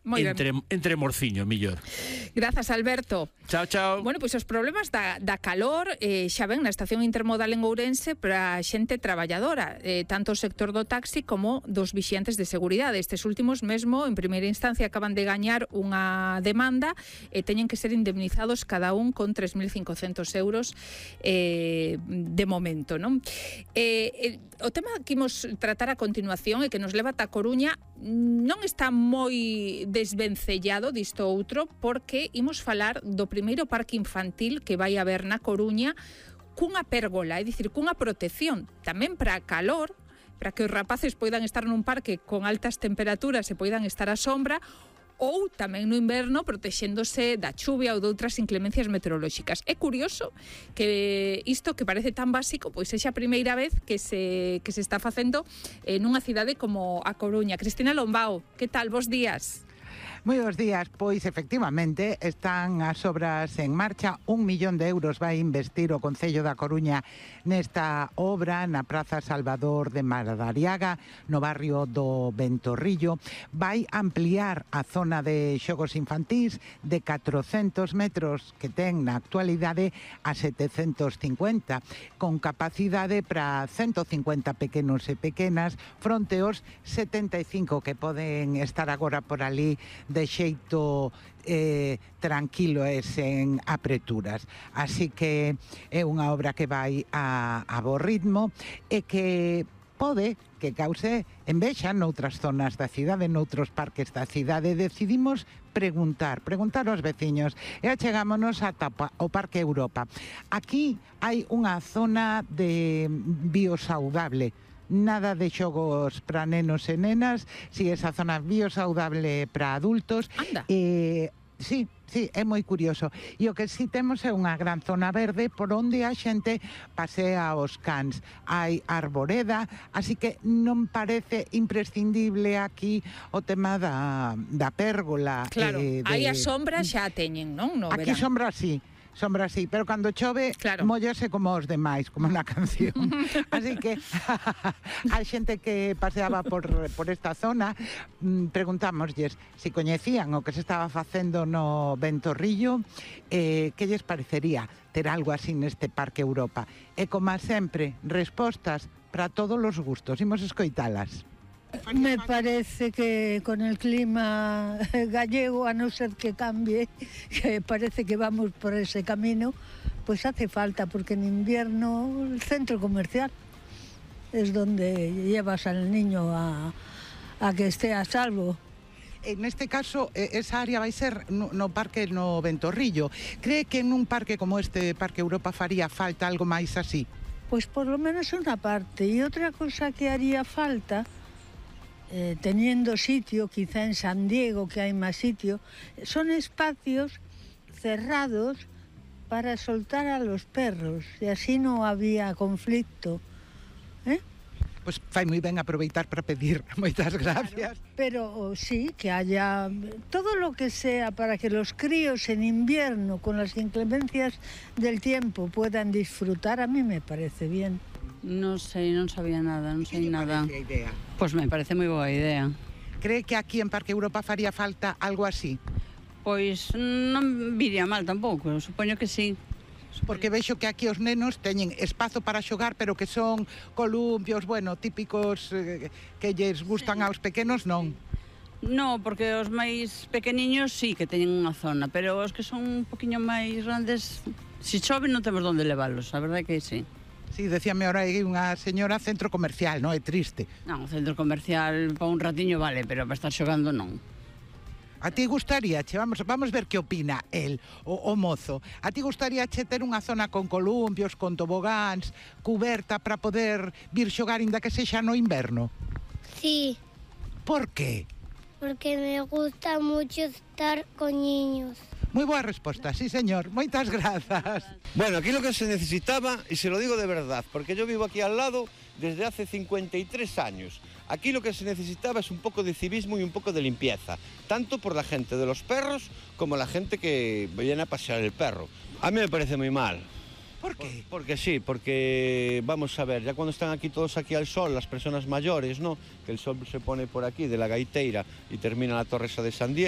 entre morciño, millor. Grazas, Alberto. Chao, chao. Bueno, pois os problemas da calor xa ven na estación intermodal en Ourense para a xente traballadora, tanto o sector do taxi como dos vixiantes de seguridade. Estes últimos mesmo, en primeira instancia, acaban de gañar unha demanda e teñen que ser indemnizados cada un con 3.500 euros de momento, non? O tema que imos tratar a continuación e que nos leva ata Coruña non está moi desvencellado disto outro, porque imos falar do primeiro parque infantil que vai haber na Coruña cunha pérgola, é dicir, cunha protección tamén para a calor, para que os rapaces poidan estar nun parque con altas temperaturas e poidan estar á sombra, ou tamén no inverno protexéndose da chuvia ou de outras inclemencias meteorolóxicas. É curioso que isto que parece tan básico pois sexa a primeira vez que se está facendo nunha cidade como a Coruña. Cristina Lombao, que tal? Bos días. Moi bons días, pois efectivamente están as obras en marcha. 1 millón de euros vai investir o Concello da Coruña nesta obra na Praza Salvador de Madariaga, no barrio do Ventorrillo. Vai ampliar a zona de xogos infantís de 400 metros que ten na actualidade a 750, con capacidade para 150 pequenos e pequenas fronte aos 75 que poden estar agora por ali de xeito tranquilo e sen apreturas. Así que é unha obra que vai a bo ritmo e que pode que cause envexa noutras zonas da cidade, noutros parques da cidade. Decidimos preguntar aos veciños e achegámonos ata o Parque Europa. Aquí hai unha zona de biosaudable, nada de xogos para nenos e nenas, si esa zona biosaudable para adultos. Anda. Sí, é moi curioso. E o que si temos é unha gran zona verde por onde a xente pasea os cans. Hai arboreda, así que non parece imprescindible aquí o tema da pérgola. Claro, aí a sombra xa teñen, non? No aquí verán. sombra sí, pero cando chove mollase como os demais, como na canción. Así que a xente que paseaba por esta zona preguntámoslles se coñecían o que se estaba facendo no Ventorrillo, que lles parecería ter algo así neste Parque Europa. E como sempre, respostas para todos os gustos. Imos escoitalas. Me parece que con el clima gallego, a no ser que cambie, que parece que vamos por ese camino, pues hace falta, porque en invierno el centro comercial es donde llevas al niño a que esté a salvo. En este caso, esa área vai ser no parque no Ventorrillo. Cree que en un parque como este Parque Europa faría falta algo máis así? Pues por lo menos una parte. Y otra cosa que haría falta, teniendo sitio, quizá en San Diego, que hay más sitio, son espacios cerrados para soltar a los perros, y así no había conflicto. Pois fai moi ben aproveitar para pedir. Moitas gracias. Claro, pero sí, que haya todo lo que sea para que los críos en invierno, con las inclemencias del tiempo, puedan disfrutar, a mí me parece bien. Non sei, non sabía nada, non sei nada. Que idea? Pois me parece moi boa idea. Cree que aquí en Parque Europa faría falta algo así? Pois non viría mal tampouco, supoño que sí. Porque vexo que aquí os nenos teñen espazo para xogar, pero que son columpios, bueno, típicos que lles gustan aos pequenos, non? No, porque os máis pequeniños sí que teñen unha zona, pero os que son un poquinho máis grandes, se chove non temos onde leválos, a verdade que sí. Sí, decíame ahora aí unha señora centro comercial, non? É triste. Non, centro comercial para un ratiño vale, pero para estar xogando non. A ti gustaría, vamos ver que opina el, o mozo. A ti gustaría ter unha zona con columpios, con tobogáns, cuberta para poder vir xogar inda que sexa no inverno? Sí. Por qué? Porque me gusta mucho estar con niños. Muy boa resposta, sí señor, moitas grazas. Bueno, aquí lo que se necesitaba, y se lo digo de verdad, porque yo vivo aquí al lado desde hace 53 años. Aquí lo que se necesitaba es un poco de civismo y un poco de limpieza, tanto por la gente de los perros como la gente que viene a pasear el perro. A mí me parece muy mal. ¿Por qué? Porque sí, porque vamos a ver, ya cuando están aquí todos aquí al sol, las personas mayores, ¿no? Que el sol se pone por aquí de la Gaiteira y termina la Torre esa de San Diego.